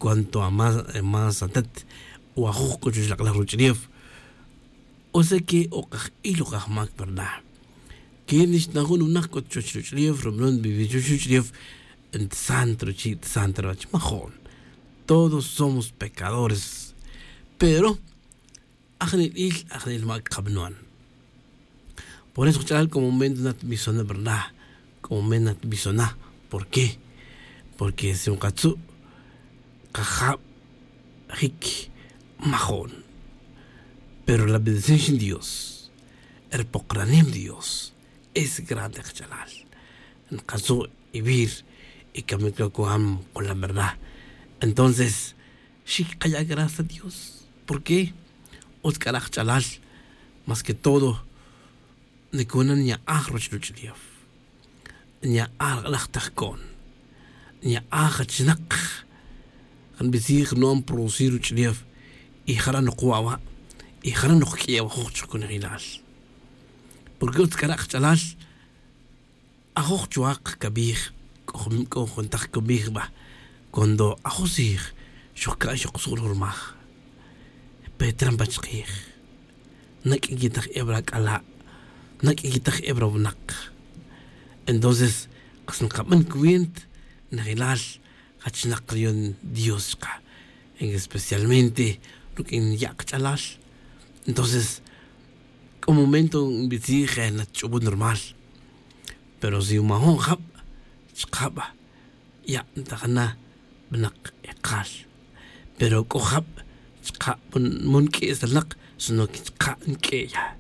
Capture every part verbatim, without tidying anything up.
cuanto a más, más atat o ajuj c'o chuwech lak'laj ruwech' riyef. O sea que o kaj'il o kajmac verdad. Que nixta jun winak c'o chuwech ruwech' riyef rumalon vivir chuwech ruwech' riyef. Ntasant ruchi' tasant ruwech' majo'n. Todos somos pecadores. Pero ajnelil ajnel mac kabanon. Por eso kach'alal c'o momento na tbisona verdad. C'o momento na tbisona. ¿Por qué? Porque si nkatzu' kajab jic majo'n. Pero la bendición xin dios, ri pokoranem dios es grande kach'alal. Nkatzu' ivir y camic lo cuam con la verdad. Entonces xic kaya' gracias a dios. ¿Por qué? Utz c'ara' kach'alal. Más que todo nicona nya'aj ruwech ruwech' riyef. Nya'aj lak'laj tajco'n. Nya'aj achinak nbitzij nu'an producir ruwech' riyef. Y jara' nokwa' wa' y jara' nokq'uiya' wa' juj chuk conejilal. Porque utz c'ara' kach'alal ajuj chuwak cabij. C'o juntak cabij ba cuando ajuj tzij xojca' xoksu' rujurmaj. Pe trampa chkij. Naq'ui quitaj eb ra c'ala'. Naq'ui quitaj eb ra winak. Entonces kas nkaban cuenta najilal jachnak riyon dios chka. Especialmente ruq'uin ya' kach'alal. Entonces c'o momento nbitzij natch'ubun rumal. Pero si majo'n jab chkab ya' ntajana. Bnak ekal. Pero c'o jab chka' mon q'ui'salnak sino que chka' nq'ui'ya.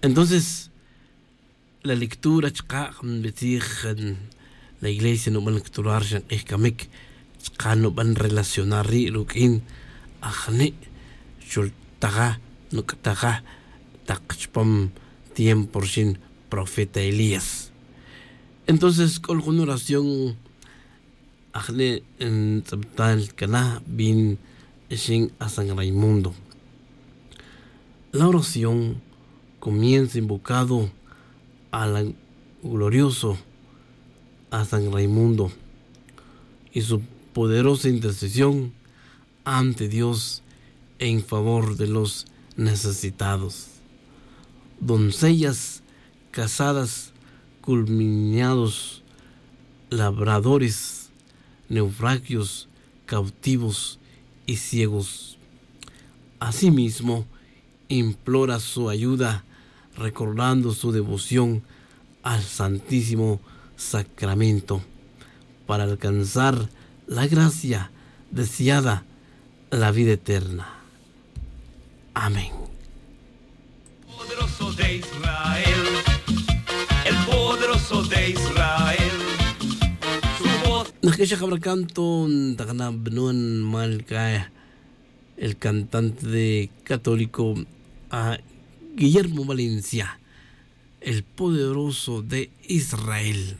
Entonces la lectura chka' nbitzij la iglesia nuban lecturar xan k'ij camic chka' nuban relacionar ri' ruq'uin ajni' xultaja nuc'taja tak chupam tiempo rixin profeta elías. Entonces c'o jun oración ajni' ntz'abtal cana bin ixin a san raimundo. La oración comienza invocado a la glorioso a san raimundo y su poderosa intercesión ante dios en favor de los necesitados. Doncellas casadas, culminados, labradores, naufragios, cautivos y ciegos. Asimismo implora su ayuda recordando su devoción al santísimo sacramento para alcanzar la gracia deseada, la vida eterna. Amén. Poderoso de israel. El poderoso de israel. Su voz. Naq'uixaj abra canto ntakana bnun mal cae el cantante de católico a guillermo valencia. El poderoso de israel.